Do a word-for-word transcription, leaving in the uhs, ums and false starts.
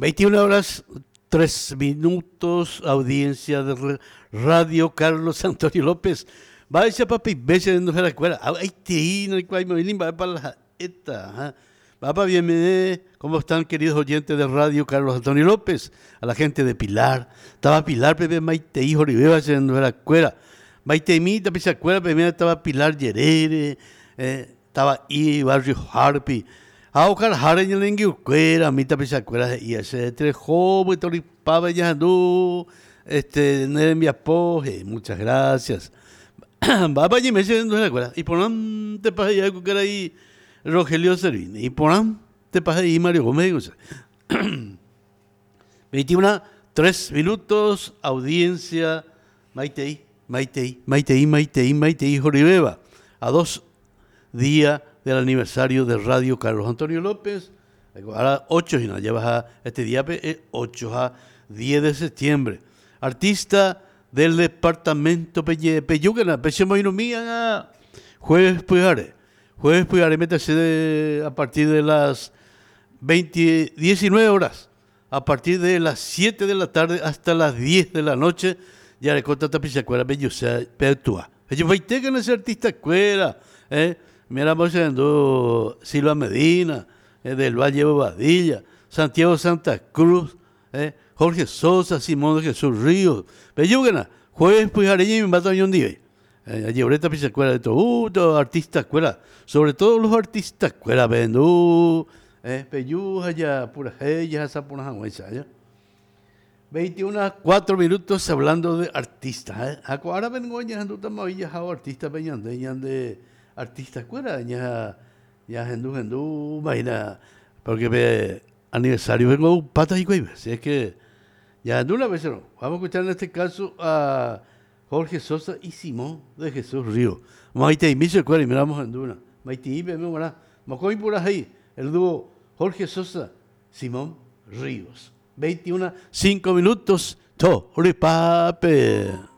Veintiuna horas tres minutos, audiencia de Radio Carlos Antonio López. Vaya papi, bese no se la escuela. Ay, te no hay va para la esta. Va bienvenido. ¿Cómo están, queridos oyentes de Radio Carlos Antonio López? A la gente de Pilar. Estaba Pilar, Pepe Maite, hijo de no la escuela. Maite imita, pese escuela, Pepe estaba Pilar Yerere, eh, estaba I, Barrio Harpi. A Oscar Jare, en mita pese escuela, y ese tres joven, Toripaba, Yandú, este, Neremia Poje, muchas gracias. Va para allí, me no la escuela. Y por te pasa ya que ahí Rogelio Servini. Y por te pasa ahí Mario Gómez. veintiuno, tres minutos, audiencia, Maitei, Maitei, Maitei, Maitei, Maitei, Joribeba. A dos días del aniversario de Radio Carlos Antonio López. Ahora ocho, y no, ya baja este día, ocho a diez de septiembre. Artista del departamento Peyúguena, Pechemoinomía, jueves Puyare. Jueves Puyare, métase a partir de las veinte, diecinueve horas, a partir de las siete de la tarde hasta las diez de la noche, ya le conta tapichacuera, Peyusea, Petua. Ellos veinte ese artista escuela, eh. Mira, viendo Silva Medina, eh, del Valle Bobadilla, Santiago Santa Cruz, eh, Jorge Sosa, Simón de Jesús Ríos. Peyúguena, jueves Puyare, y me mata un día. Eh, ahorita pisa escuela de todo, uh, todo artista escuela, sobre todo los artistas escuela, vendú, eh, peyuja ya, pura ella, esa pura ya. veintiuno, cuatro minutos hablando de artistas, eh. Ahora vengo ya, ando también ya, artista peñande, de artista escuela, ya, ya, gendú, gendú, imagina, porque ve aniversario vengo patas y cuello, así es que ya ando una vez, no. Vamos a escuchar en este caso a Jorge Sosa y Simón de Jesús Río. Maite y Miso y miramos en Duna. Maite y Bemora. Macoy por ahí. El dúo Jorge Sosa, Simón Ríos. veintiuno, cinco minutos. To, pape.